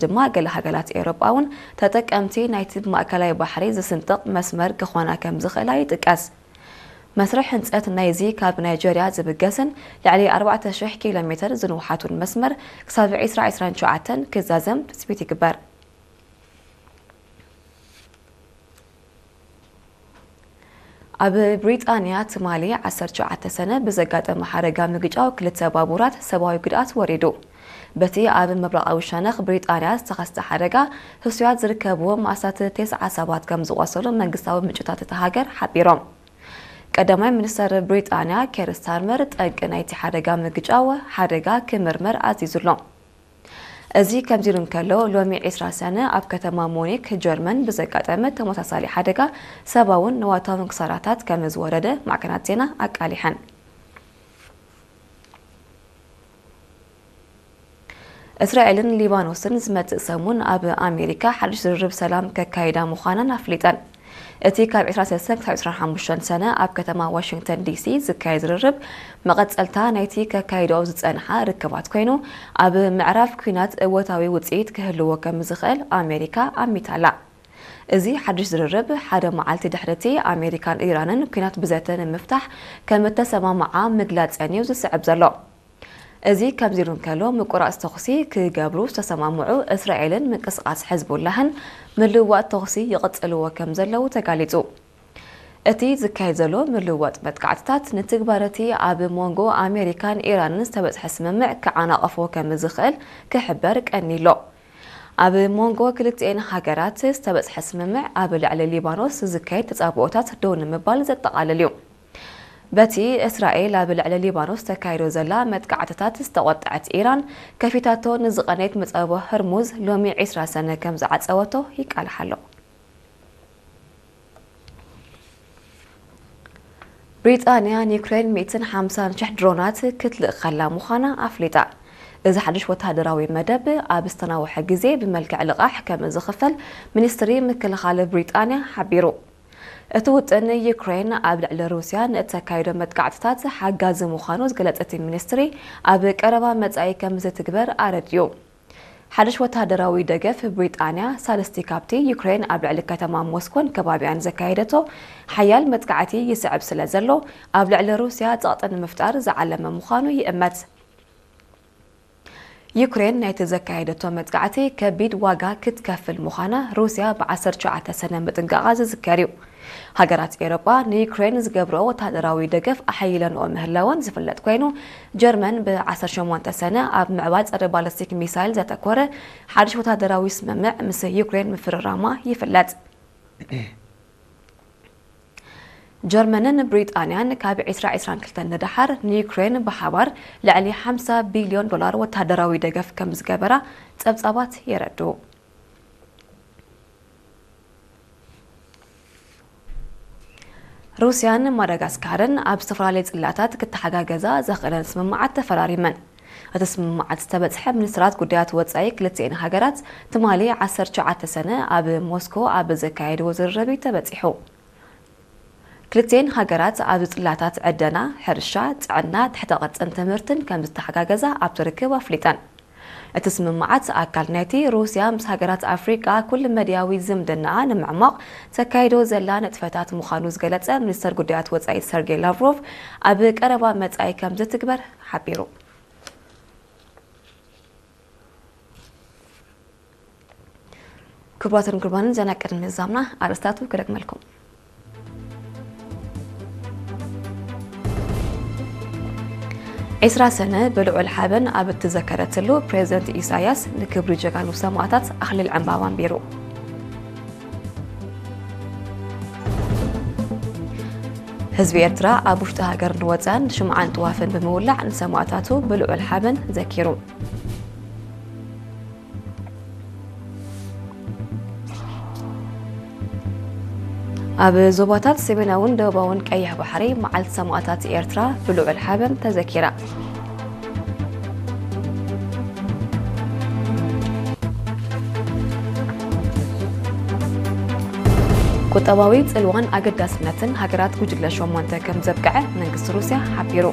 ድማ ገለ ሃገራት ኤውሮጳ እውን ተጠቀምቲ ናይቲ ብማእከላይ ባሕሪ ዝስንጥቕ መስመር ክኾና ከም ዝኽእላ ይጥቀስ። መስርሕ ህንጸት ናይዚ ካብ ናይጀርያ ዝብገስን ልዕሊ ኣርባዕተ ሽሕ ኪሎ ሜትር ዝንውሓቱን መስመር ክሳብ ዕስራ ዕስራን ትሽዓተን ክዛዘም ትጽቢት ይግበር። ኣብ ብሪጣንያ ትማሊ ዓሰርተ ትሽዓተ ሰነ ብዘጋጠመ ሓደጋ ምግጫው ክልተ ባቡራት ሰብኣዊ ጉድኣት ወሪዱ። በቲ ኣብ ምብራቓዊ ሸነኽ ብሪጣንያ ዝተኸስተ ሓደጋ ህሱያት ዝርከብዎም ኣስታት ተስዓ ሰባት ከም ዝቖሰሉ መንግስታዊ ምንጭታት እታ ሃገር ሓቢሮም። ቀዳማይ ሚኒስተር ብሪጣንያ ኬር ስታርመር ጠንቂ ናይቲ ሓደጋ ምግጫው ሓደጋ ክምርመር ኣዚዙ ኣሎ። እዚ ከምዚ ኢሉ እንከሎ፣ ሎሚ ዕስራ ሰነ ኣብ ከተማ ሙኒክ ጀርመን ብዘጋጠመ ተመሳሳሊ ሓደጋ ሰብኣውን ንዋታውን ክሳራታት ከም ዝወረደ ማዕከናት ዜና ኣቃሊሐን። እስራኤልን ሊባኖስን ዝመጽእ ሰሙን ኣብ ኣሜሪካ ሓድሽ ዝርርብ ሰላም ከካይዳ ምዃነን ኣፍሊጠን። እቲ ካብ ዕስራ ሰለስተ ክሳብ ዕስራን ሓሙሽተን ሰነ ኣብ ከተማ ዋሽንግተን ዲሲ ዝካየድ ዝርርብ መቐጸልታ ናይቲ ከካይድኦ ዝጸንሓ ርክባት ኮይኑ፣ ኣብ ምዕራፍ ኲናት እወታዊ ውጽኢት ክህልዎ ከም ዝኽእል ኣሜሪካ ኣሚታላ። እዚ ሓድሽ ዝርርብ ሓደ መዓልቲ ድሕሪ እቲ ኣሜሪካን ኢራንን ኲናት ብዘተ ንምፍታሕ ከም እተሰማምዓ ምግላጸን እዩ ዝስዕብ ዘሎ። እዚ ከምዚ ኢሉ እንከሎ፣ ምቁራጽ ተኹሲ ክገብሩ ዝተሰማምዑ እስራኤልን ምንቅስቓስ ሕዝቡላህን ምልውዋጥ ተኹሲ ይቕጽልዎ ከም ዘለዉ ተጋሊጹ። እቲ ዝካየድ ዘሎ ምልውዋጥ መጥቃዕትታት ንትግባረቲ ኣብ መንጎ ኣሜሪካን ኢራንን ዝተበጽሐ ስምምዕ ክዓናቐፎ ከም ዝኽእል ክሕበር ቀኒሎ። ኣብ መንጎ ክልቲኤን ሃገራት ዝተበጽሐ ስምምዕ ኣብ ልዕሊ ሊባኖስ ዝካየድ ተጻብኦታት ደው ንምባል ዘጠቓልል እዩ። በቲ እስራኤል ኣብ ልዕሊ ሊባኖስ ተካይዶ ዘላ መጥቃዕትታት ዝተቖጥዐት ኢራን፣ ከፊታቶ ንዝቐነየት መጻብቦ ህርሙዝ ሎሚ ዕስራ ሰነ ከም ዝዓጸወቶ ይቃልሓ ኣሎ። ብሪጣንያ ንዩክሬን ሚእትን ሓምሳን ሽሕ ድሮናት ክትልእኸላ ምዃና ኣፍሊጣ። እዚ ሓድሽ ወተሃደራዊ መደብ ኣብ ዝተናውሐ ግዜ ብመልክዕ ልቓሕ ከም ዝኽፈል ሚኒስትሪ ምክልኻል ብሪጣንያ ሓቢሩ። እቲ ውጥን ዩክሬን ኣብ ልዕሊ ሩስያ ንእተካይዶ መጥቃዕትታት ሓጋዚ ምዃኑ ዝገለጸ እቲ ሚኒስትሪ፣ ኣብ ቀረባ መጻኢ ከም ዝትግበር ኣረድዩ። ሓድሽ ወተሃደራዊ ደገፍ ብሪጣንያ ሳልስቲ ካብቲ ዩክሬን ኣብ ልዕሊ ከተማ ሞስኮን ከባቢያን ዘካየደቶ ሓያል መጥቃዕቲ ይስዕብ ስለ ዘሎ፣ ኣብ ልዕሊ ሩስያ ጸቕጢ ንምፍጣር ዝዓለመ ምዃኑ ይእመት። ዩክሬን ናይቲ ዘካየደቶ መጥቃዕቲ ከቢድ ዋጋ ክትከፍል ምዃና ሩስያ ብ ዓሰርተ ትሽዓተ ሰነ ምጥንቃቓ ዝዝከር እዩ። ሃገራት ኤውሮጳ ንዩክሬን ዝገብርኦ ወተሃደራዊ ደገፍ ኣሐይለንኦ ምህላወን ዝፍለጥ ኮይኑ፣ ጀርመን ብ ዓሰርተ ሸሞንተ ሰነ ኣብ ምዕባይ ጸረ ባለስቲክ ሚሳይል ዘተኮረ ሓድሽ ወተሃደራዊ ስምምዕ ምስ ዩክሬን ምፍርራማ ይፍለጥ። ጀርመንን ብሪጣንያን ካብ ዕስራ ዕስራን ክልተን ንደሓር ንዩክሬን ብሓባር ልዕሊ ሓምሳ ቢልዮን ዶላር ወተሃደራዊ ደገፍ ከም ዝገበራ ጸብጻባት የረድኡ። ሩስያን ማዳጋስካርን ኣብ ዝተፈላለዩ ጽላታት ክተሓጋገዛ ዘኽእለን ስምምዓት ተፈራሪመን። እቲ ስምምዓት ዝተበጽሐ ሚኒስትራት ጉዳያት ወጻኢ ክልቲኤን ሃገራት ትማሊ ዓሰርተ ትሽዓተ ሰነ ኣብ ሞስኮ ኣብ ዘካየድዎ ዝርርብ እዩ ተበጺሑ። ክልቲኤን ሃገራት ኣብ ጽላታት ዕደና፣ ሕርሻ፣ ጥዕና፣ ትሕተ ቅርጽን ትምህርትን ከም ዝተሓጋገዛ ኣብቲ ርክብ ኣፍሊጠን። እቲ ስምምዓት ኣካል ናይቲ ሩስያ ምስ ሃገራት ኣፍሪቃ ኩል መድያዊ ዝምድናኣ ንምዕማቕ ተካይዶ ዘላ ንጥፈታት ምዃኑ ዝገለጸ ሚኒስተር ጉዳያት ወጻኢ ሰርጌይ ላቭሮቭ፣ ኣብ ቀረባ መጻኢ ከም ዝትግበር ሓቢሩ። ክቡራትን ክቡራንን፣ ዜና ቅድሚ ምዛምና ኣርእስታቱ ክደግመልኩም። ዕስራ ሰነ ብልዑል ሓበን ኣብ እትዘከረትሉ፣ ፕሬዚደንት ኢሳያስ ንክብሪ ጀጋኑ ሰማእታት ኣኽሊል ዕምባባ ኣንቢሩ። ህዝቢ ኤርትራ ኣብ ውሽጢ ሃገር ንወጻን ሽምዓን ጥዋፍን ብምውላዕ ንሰማእታቱ ብልዑል ሓበን ዘኪሩ። ኣብ ዞባታት ሰሜናውን ደቡባውን ቀይሕ ባሕሪ መዓልቲ ሰማእታት ኤርትራ ብልዑል ሓበን ተዘኪራ። ቁጠባዊ ጽልዋን ኣገዳስነትን ሃገራት ጉጅለ ሸሞንተ ከም ዘብቅዐ መንግስቲ ሩስያ ሓቢሩ።